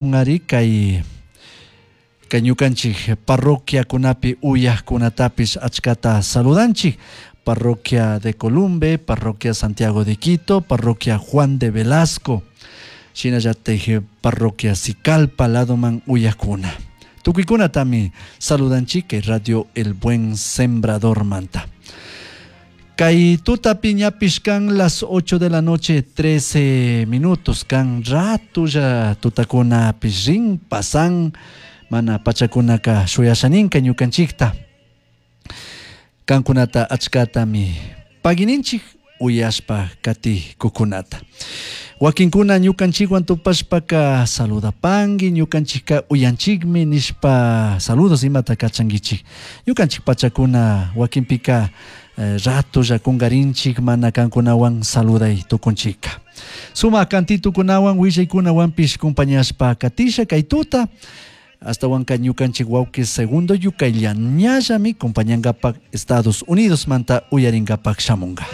Ari kay ñukanchik parroquiakunapi uyaqkunatapish achkata saludanchik. Parroquia de Columbe, Parroquia Santiago de Quito, Parroquia Juan de Velasco, shinallatik Parroquia Sicalpa ladoman uyaqkuna. Tukuykunatami saludanchik kay Radio El Buen Sembrador manta. Kay tutapi ñapish kan las 8 de la noche 13 minutos kan ratulla tutakunapish rin pasan mana pachakunaka shuyashaninka ñukanchikta. Kankunata achkatami pagininchik uyashpa katikukunata. Wakinkuna ñukanchikwan tupashpaka saludapanki ñukanchikka uyanchikmi nishpa saludos imata kachankichik. Ñukanchik pachakuna wakinpika ratolla kungarinchik mana kankunawan saluday tukunchikka. Sumak kantitukunawan willaykunawanpish compañashpa katisha kay tuta astawanka ñukanchik wawqi Segundo Yucaylla ñallami compañankapak Estados Unidos manta uyarinkapak shamunka.